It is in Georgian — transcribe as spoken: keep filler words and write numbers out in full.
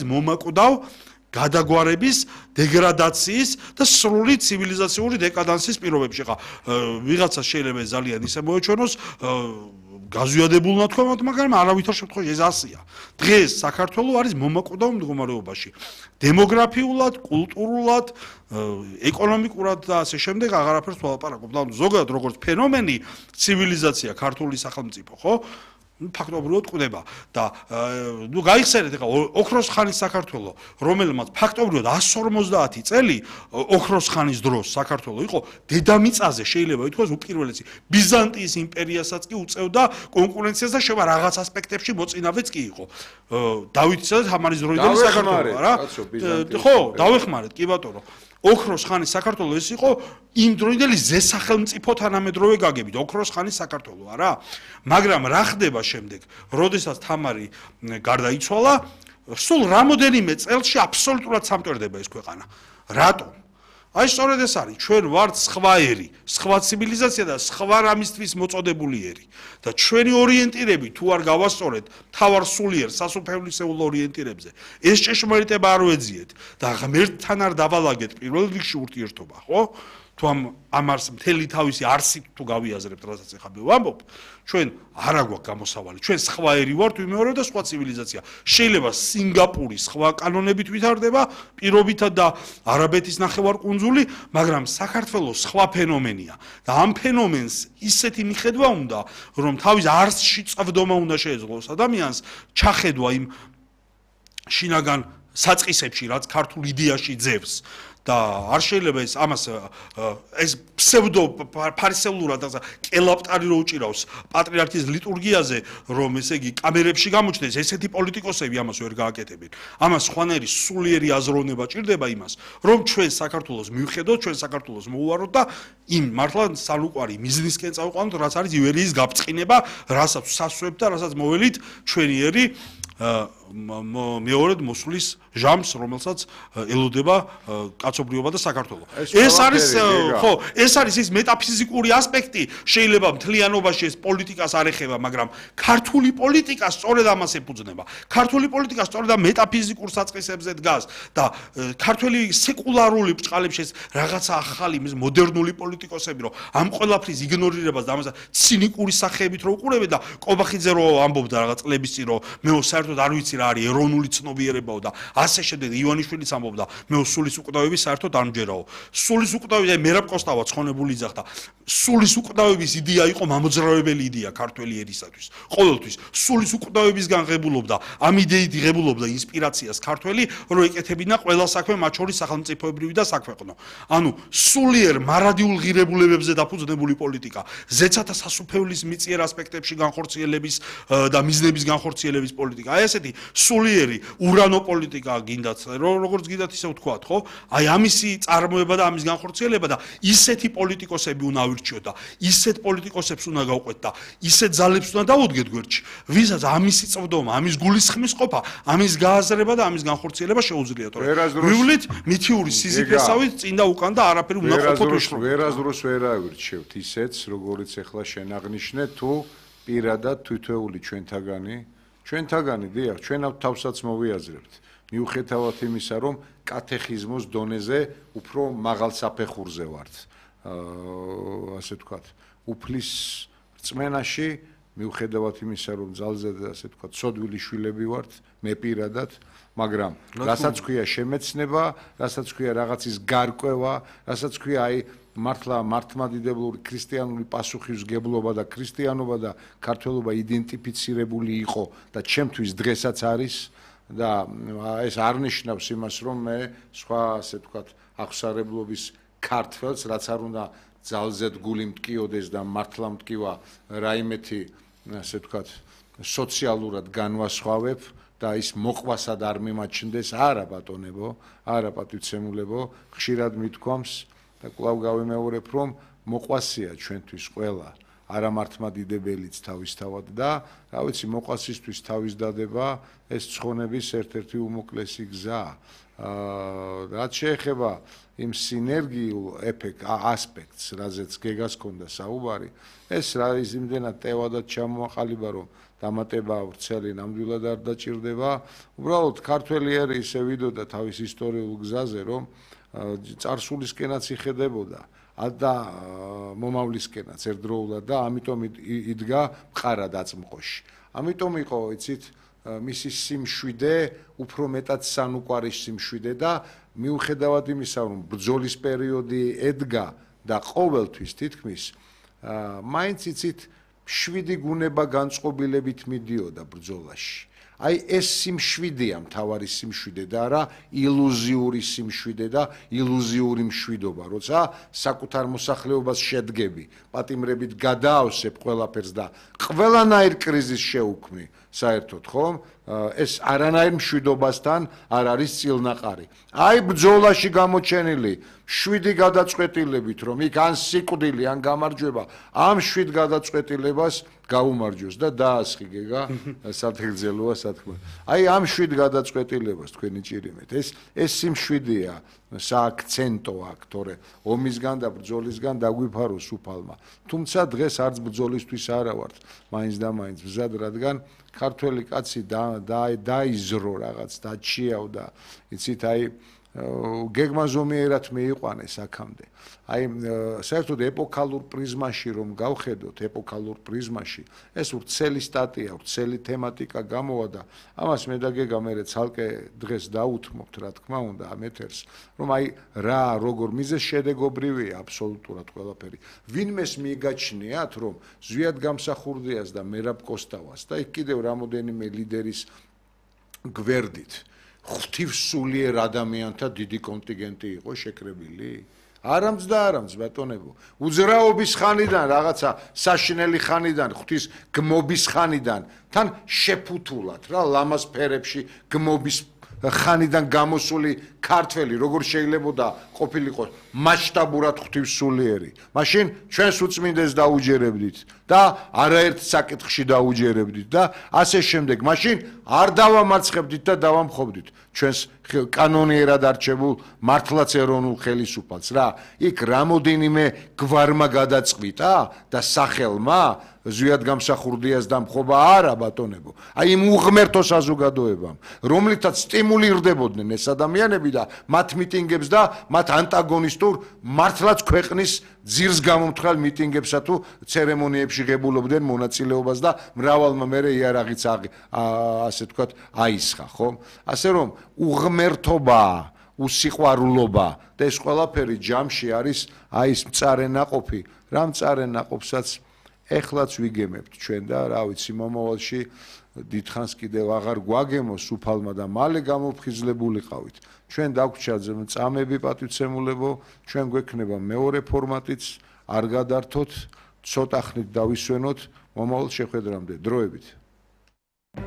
მომაკვდავ გადაგვარების, დეგრადაციის და სრული ცივილიზაციური დეკადანსის პირობებში. ხა ვიღაცა შეიძლება ძალიან ისე მოეჩვენოს გაზვიადებულნად თქვა, მაგრამ არავითარ შემთხვევაში ეს ასია. დღეს საქართველოს არის მომაკვდავ მდგომარეობაში. დემოგრაფიულად, კულტურულად, ეკონომიკურად და ასე შემდეგ აღარაფერს ვალაპარაკობ. და ზოგადად როგორც ფენომენი ცივილიზაცია ქართული სახელმწიფო, ხო? ფაქტობრივად ყდება და ნუ გაიხსენეთ ახლა ოქროს ხანის საქართველოს, რომელმაც ფაქტობრივად εκατს ორმოცდაათი წელი ოქროს ხანის დროს საქართველოს იყო დედამიწაზე, შეიძლება ითქვას უპირველესი ბიზანტიის იმპერიასაც კი უწევდა კონკურენციას და შევა რაღაც ასპექტებში მოწინავეც კი იყო. დავითისა და თამარის დროინდელი საქართველოს, რა? ხო, დავეხმარეთ, კი ბატონო. ოქროს ხანის საქართველოს ეს იყო იმ დროინდელი ზესახელმწიფო თანამედროვე გაგებით, ოქროს ხანის საქართველოს, არა? მაგრამ რა ხდება შემდეგ, როდესაც თამარი გარდაიცვალა, სულ რამოდენიმე წელში აბსოლუტურად სამტვერდება ეს ქვეყანა. რატომ? აი სწორედ ეს არის, ჩვენ ვართ სხვა ერი, სხვა ცივილიზაცია და სხვა რამისთვის მოწოდებული ერი. და ჩვენი ორიენტირები თუ არ გავასწორეთ თავარ სულიერ სასუფევლისეულ ორიენტირებზე, ეს ჭეშმარიტება არ ვეძიეთ და ღმერთთან არ დავალაგეთ პირველ რიგში ურთიერთობა, ხო? თუ ამ ამას მთელი თავისი არსით თუ გავიაზრებთ, რასაც ახლა მე ვამბობ, ჩვენ არ აგვაქვს გამოსავალი, ჩვენ სხვა ერი ვართ, ვიმეორებ და სხვა ცივილიზაცია. შეიძლება სინგაპური სხვა კანონებით ვითარდება, პირობითად და არაბეთის ნახევარკუნძული, მაგრამ საქართველოს სხვა ფენომენია და ამ ფენომენს ისეთი მიხედვა უნდა, რომ თავის არსში წვდომა უნდა შეეძლოს ადამიანს, ჩახედვა იმ შინაგან საწყისებში, რაც ქართულ იდეაში ძევს. და არ შეიძლება ეს ამას ეს ფსევდო ფარისეულურად და კელაპტარი რო უჭირავს პატრიარქის ლიტურგიაზე, რომ ესე იგი კამერებში გამოჩნდეს, ესეთი პოლიტიკოსები ამას ვერ გააკეთებენ. ამას ხვანერი სულიერი აზროვნება ჭირდება იმას, რომ ჩვენ საქართველოს მივხედოთ, ჩვენ საქართველოს მოუვაროთ და იმ მართლა სალუკვარი მიზნისკენ წავიყვანოთ, რაც არის ივერიის გაფწყინება, რასაც სასვებთ და რასაც მოველით ჩვენი ერი მეორედ მოსulis ჟამს, რომელსაც ელოდება კაცობრიობა და საქართველო. ეს არის ხო, ეს არის ის მეტაფიზიკური ასპექტი, შეიძლება მთლიანობაში ეს პოლიტიკას არ ეხება, მაგრამ ქართული პოლიტიკა სწორედ ამას ეფუძნება. ქართული პოლიტიკა სწორედ ამ მეტაფიზიკურ საწყისებზე დგას და ქართული სეკულარული ბრჭყალებში ეს რაღაცა ახალი ის მოდერნული პოლიტიკოსები, რომ ამ ყველაფრის იგნორირებას და ამასაც ცინიკური სახეებით რო უყურებენ და კობახიძე რო ამბობდა რაღაც წლების წინ, რომ მე საერთოდ არ ვიცი რა არის ეროვნული ცნობიერებაო და ასე შემდეგ ივანიშვილიც ამბობდა მე სულის უკვდავების საერთოდ არ მჯერაო. სულის უკვდავები მერაბ კოსტავა ცხონებული იძახდა. სულის უკვდავების იდეა იყო მამოძრავებელი იდეა ქართველი ერისათვის. ყოველთვის სულის უკვდავებისგან ღებულობდა, ამ იდეით ღებულობდა ინსპირაციას ქართველი, რომ ეკეთებინა ყველა საქმე, მათ შორის სახელმწიფოებრივი და საქვეყნო. ანუ სულიერ მარადიულ ღირებულებებზე დაფუძნებული პოლიტიკა, ზეცათა სასუფეველის მიწიერ ასპექტებში განხორციელების და მიზნების განხორციელების პოლიტიკა. აი ესეთი სულიერი ურანო პოლიტიკა გინდათ, როგორც გინდათ ისე ვთქვათ, ხო? აი ამისი წარმოება და ამის განხორციელება და ისეთი პოლიტიკოსები უნდა ავირჩიოთ და ისეთ პოლიტიკოსებს უნდა გავყვეთ და ისეთ ძალებს უნდა დავუდგეთ გვერდში, ვისაც ამისი წვდომა, ამის გულისხმის ყოფა, ამის გააზრება და ამის განხორციელება შეუძლიათ. ვივლით მითიური სიზიფესავით წინ და უკან და არაფერი უნდა ყოფოთ უშრო. ვერაზროს ვერ ავირჩევთ ისეთს, როგორც ახლა შენ აღნიშნე, თუ პირადად თითოეული ჩვენთაგანი ჩვენთაგანი დიახ, ჩვენ თავსაც მოვიაზრებთ. მიუხედავად იმისა, რომ კათეხიზმოს დონეზე უფრო მაღალ საფეხურზე ვართ. ასე ვთქვათ, უფლის რწმენაში, მიუხედავად იმისა, რომ ძალზე და ასე ვთქვათ, ცოდვილი შვილები ვართ, მე პირადად, მაგრამ რასაც ქვია შემეცნება, რასაც ქვია რაღაცის გარკვევა, რასაც ქვია აი მართლა მართლმადიდებლური ქრისტიანული პასუხისმგებლობა და ქრისტიანობა და ქართველობა იდენტიფიცირებული იყო და ჩემთვის დღესაც არის და ეს არ ნიშნავს იმას, რომ მე სხვა ასე ვთქვათ აღსარებლობის ქართველს, რაც არ უნდა ძალზედ გული მტკიოდეს და მართლა მტკივა რაიმეთი ასე ვთქვათ სოციალურად განვასხვავებ და ის მოყვასად არ მიმაჩნდეს, არა ბატონებო, არა პატივცემულებო, ხშირად მithქვამს და კვლავ გავიმეორებ, რომ მოყვასია ჩვენთვის ყველა, არა მართლმადიდებელიც თავისთავად და რა ვიცი, მოყვასისთვის თავის დადება ეს ცხონების ერთ-ერთი უმოკლესი გზაა. რაც შეეხება იმ სინერგიულ ეფექტ ასპექტს, რაზეც გეგას ქონდა საუბარი, ეს რა იმდენად ტევადად ჩამოაყალიბა, რომ დამატება ვრცელი ნამდვილად არ დაჭირდება. უბრალოდ ქართველი ერი ისე ვიდოდა თავის ისტორიულ გზაზე, რომ წარსულისკენაც იხედებოდა და მომავლისკენაც ერთდროულად და ამიტომ იდგა მყარად აწმყოში. ამიტომ იყო, იცით, მისი სიმშვიდე, უფრო მეტად სანუკვარის სიმშვიდე და მიუხედავად იმისა, რომ ბრძოლის პერიოდი ედგა და ყოველთვის თითქმის მაინც იცით შვიდი გუნება განწყობილებით მიდიოდა ბრძოლაში. აი ეს სიმშვიდეა მთავარი სიმშვიდე და არა ილუზიური სიმშვიდე და ილუზიური მშვიდობა, როცა საკუთარ მოსახლეობას შედგები, პატიმრებით გადაავსებ ყველაფერს და ყველანაირ კრიზისს შეუქმნი, საერთოდ ხომ? ეს არანაირ მშვიდობასთან არ არის წილნაყარი. აი ბრძოლაში გამოჩენილი შვიდი გადაწყვეტილებით, რომ იქ ან სიკვდილი, ან გამარჯვება, ამ შვიდ გადაწყვეტილებას გაუმარჯოს და დაასხი გეგა სათგრძელოა სათქმა. აი ამ შვიდ გადაწყვეტილებას თქვენი ჭირიმეთ. ეს ეს სიმშვიდეა, სააქცენტო აქ, თორე ომისგან და ბრძოლისგან დაგვიფაროს უფალმა. თუმცა დღეს არც ბრძოლისთვის არა ვართ, მაინც და მაინც მზად, რადგან ქართველი კაცი დაიზრო რაღაც, დაჩიავდა, იცით, აი გეგმა ზომიერად მიიყვანეს აქამდე. აი საერთოდ ეპოქალურ პრიზმაში რომ გავხედოთ, ეპოქალურ პრიზმაში, ეს ვრცელი სტატია, ვრცელი თემატიკა გამოვა და ამას მე და გეგა მერე ცალკე დღეს დაუთმობთ, რა თქმა უნდა, ამ ეთერს, რომ აი რა, როგორ მიზეს შედეგობრივია აბსოლუტურად ყველაფერი. ვინმეს მიგაჩნიათ, რომ ზვიად გამსახურდიას და მერაბ კოსტავას და იქ კიდევ რამოდენიმე ლიდერის გვერდით ღვთივსულიერ ადამიანთა დიდი კონტინგენტი იყო შეკრებილი? არამც და არამც ბატონებო. უძრაობის ხანიდან, რაღაცა საშინელი ხანიდან, ღვთის გმობის ხანიდან, თან შეფუთულად რა ლამაზ ფერებში გმობის ხანიდან გამოსული ქართველი როგორ შეიძლებოდა ყოფილიყო მასშტაბურად ღვთივსულიერი. მაშინ ჩვენს უწმინდეს დაუჯერებდით და არაერთ საკითხში დაუჯერებდით და ასე შემდეგ. მაშინ არ დავამარცხებდით და დავამხობდით ჩვენს კანონიერად არჩებულ მართლაც ეროვნულ ხელისუფალს რა. იქ რამოდენიმე გვარმა გადაწყვიტა და სახელმა ზვიად გამსახურდიას დამხობა არა ბატონებო. აი იმ უღმერთო საზოგადოებამ, რომლითაც სტიმულირდებოდნენ ეს ადამიანები და მათ მიტინგებს და მათ ანტაგონისტურ მართლაც ქვეყნის ძირს გამომთხრალ მიტინგებსა თუ ცერემონიებში ღებულობდნენ მონაწილეობას და მრავალმა მერე იარაღიც ასე თქვათ აისხა, ხომ? ასე რომ უღმერთობა, უსიყვარულობა და ეს ყველაფერი ჯამში არის აი ეს მწარე ნაყოფი, რა მწარე ნაყოფსაც ეხლაც ვიგემებთ ჩვენ და რა ვიცი მომავალში დიდხანს კიდევ აღარ გვაგემოს უფალმა და მალე გამოფხიზლებულიყავით. ჩვენ დაგვრჩა წამები პატივცემულებო, ჩვენ გვექნება მეორე ფორმატიც, არ გადართოთ, ცოტა ხნით დავისვენოთ მომავალ შეხვედრამდე. დროებით.